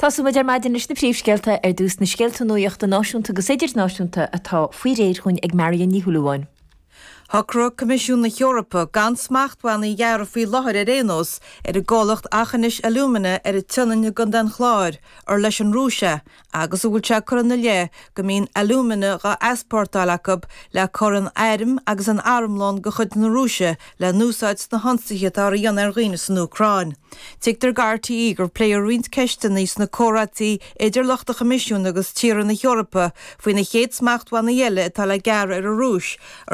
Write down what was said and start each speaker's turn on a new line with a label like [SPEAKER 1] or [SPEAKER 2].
[SPEAKER 1] Tosóidh muid ar maidin leis na príomhscéalta, ar dtús na scéalta nuachta náisiúnta agus idirnáisiúnta atá faoi réir dhúinn ag Marion Ní Shúilleabháin.
[SPEAKER 2] Shocraigh Coimisiún na hEorpa gan smachtbhannaí a ghearradh faoi láthair ar aon nós ar an gcomhlacht Aughinish Alumina ar an tSionainn i gContae an Chláir, ar leis an Rúis é, agus a bhfuil sé curtha ina leith go mbíonn alúmana dhá easpórtáil acu le cur in airm agus in armlón de chuid na Rúise le n-úsáid sna hionsaithe atáthar a dhéanamh ar dhaoine san Úcráin. Tuigtear do RTÉ gur pléadh roinnt ceisteanna sna comhráití idir lucht an Choimisiúin agus tíortha na hEorpa faoi na chéad smachtbhannaí eile atá le gearradh ar an Rúis.